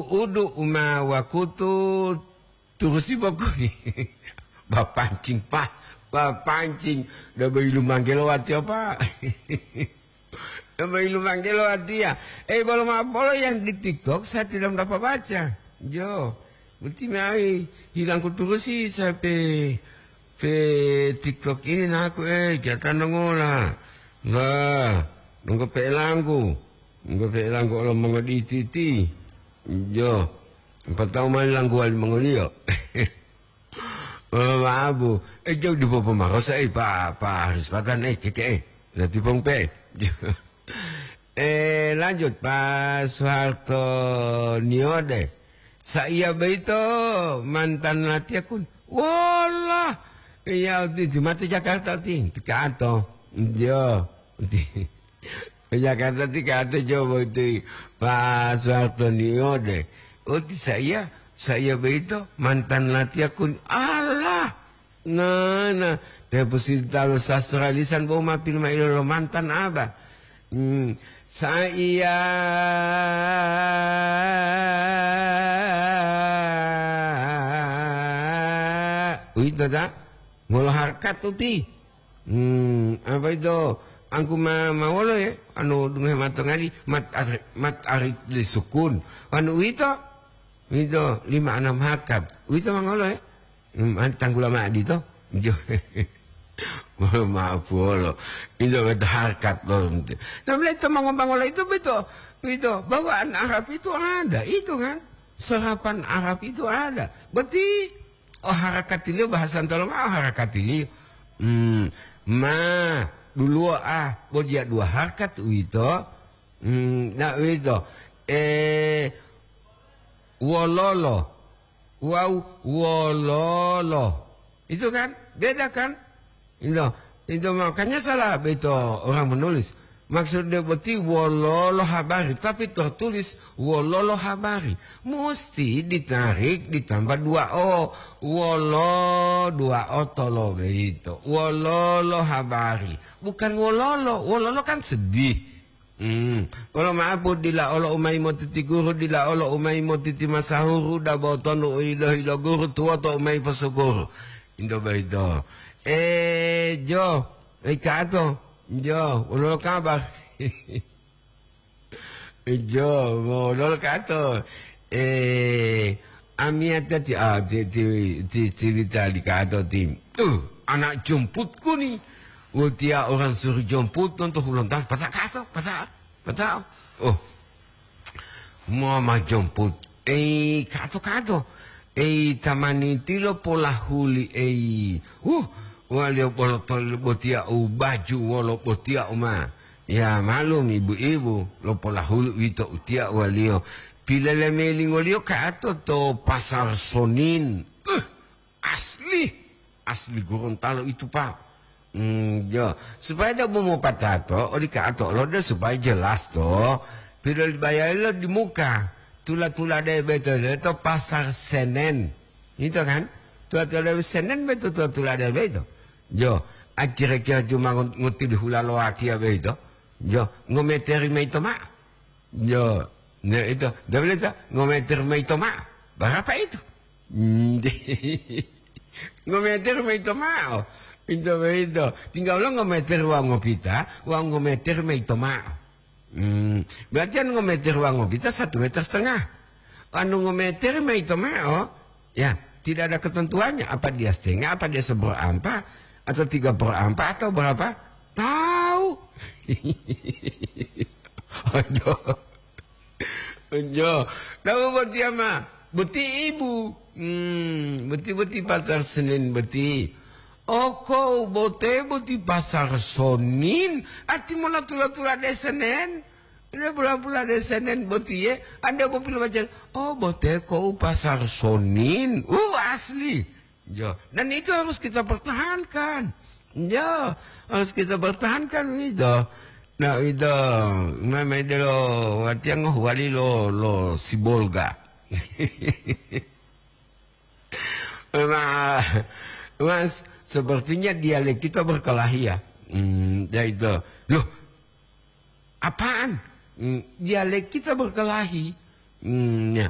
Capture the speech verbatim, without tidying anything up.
Udu uma wakutu turusi bokuni. Bapancing, Pak. Bapancing. Udah bayi lumanggelo wati apa? Udah bayi lumanggelo wati ya. Eh, bolo ma-, bolo yang di TikTok saya tidak dapat baca. Jo. Berarti mai hilangku turusi sampai pe TikTok ini naku, eh, kita nongola. Nah, nunggu pe langku. Nunggu pe langku lo mongoditi-ti. Jo. Empat tahun mali langku wali mongoliyo. Oh, mabu. Eh, jauh di popo marosa, eh, Pak, Pak Haris Patan, eh, keke, eh. Nanti pong pe. Eh, lanjut, Pak Soeharto Niode. Saiya boyito mantan latiya kun. Wallah. Iya, uti, uti mate Jakarta, uti. Tikato. Jo. Uti. Jakarta tikato coba uti. Pak Soeharto Niode. Uti saiya, saiya boyito mantan latiya kun. Allah. Nah, nah. Te positalo sastra lisan bo ma pilma ilo lo mantan aba. Hmm. Saiya. Uwito ta? Ngolo harkat uti. Hmm, apa ito? Angku ma-, mawolo ya? Anu dungohe matongadi, mat ar-, mat arit li sukun. Anu uwito? Uwito, lima anam harkat. Uwito mangolo ya? Hmm, an-, tanggula ma'o dito? Jo. Mohon maaf wolo. Ito beto harkat to. Nah, mulai to mangobangola itu beto. Ito, bawaan Arab itu ada, itu kan. Serapan Arab itu ada. Berarti, oh, harakatiliyo bahasa ntolo ma'o harakatiliyo. Hmm, ma, duluwo ah, bo diya dua harkat uwito. Hmm, na uwito. Eh, wololo. Wawu wololo. Itu kan? Beda kan? Itu, itu makanya salah beto orang menulis. Maksudnya boti wololo habari, tapi tertulis wololo habari. Mesti ditarik ditambah dua o. Wolo, dua o tolo beito. Wololo habari. Bukan wololo. Wololo kan sedih. Hmm. Wolo ma'apu dila olo umayi motiti guru, dila olo umayi motiti masahuru, dabo tonu u hilo-hilo guru, tuwoto umayi posukuru. Indo boyito. Eh, Jo, eh, Kato, Jo, wolo kabar? Jo, wolo Kato? Eh, amiyata ti, ah, ti, ti, ti cerita li Kato ti. Uh, anak jemputku nih. Watiya orang suruh jemput nonto hulontalo. Pata Kato, pata, pata. Oh, Mama jemput. Ei, Kato, Kato. Ei, tamani tilo polahuli, ei. Huh, waliyo bolo toli botiya u baju wolo botiya u ma. Ya, malum, ibu-ibu, lo polahuli uwito utiya waliyo. Pilelemilingoliyo Kato to Pasar Sonin. Uh, Asli, asli Gorontalo itu, Pak. Hmm, ya, supaya dia mau mopatato, oli Kato lo dia supaya jelas to. Pidol bayarilo di muka. Tula-tula de beto, beto Pasar Senen. Itu kan? Tula-tula de Senen beto, tula-tula de beto. Jo, akhir-akhir cuma ngut-, nguti di hula lo watiya beto. Jo, ngometeri maito ma. Yo, ne ito, dobele to, ngometer maito ma'o. Barapa itu? Hmm, ngometer maito ma'o. Ito boyito. Tinggal lo ngometer wawu ngopita, wawu ngometer maito ma'o. Hmm, berarti anu ngometer wawu ngopita satu meter setengah. Anu ngometer maito ma'o, ya, tidak ada ketentuannya. Apa dia setengah, apa dia seperempat, atau tiga perempat, atau berapa? Tahu. Aduh. Ojo. Tahu boti ama? Boti ibu. Hmm, boti-boti Pasar Senin boti. Oko bote boti Pasar Sonin. Ati mola tula-tula de Senen. Ina pula-pula de Senen boti ye. Anda mau pilih macam, oh, bote ko Pasar Sonin. Uh, asli. Jo, dan itu harus kita pertahankan. Jo, harus kita pertahankan itu. Nah, itu memang itu lo, artinya ngoh wali lo, lo Sibolga. Nah, Mas, sepertinya dialek kita berkelahi ya. Hmm, ya itu. Loh, apaan? Hmm, dialek kita berkelahi. Hmm, ya.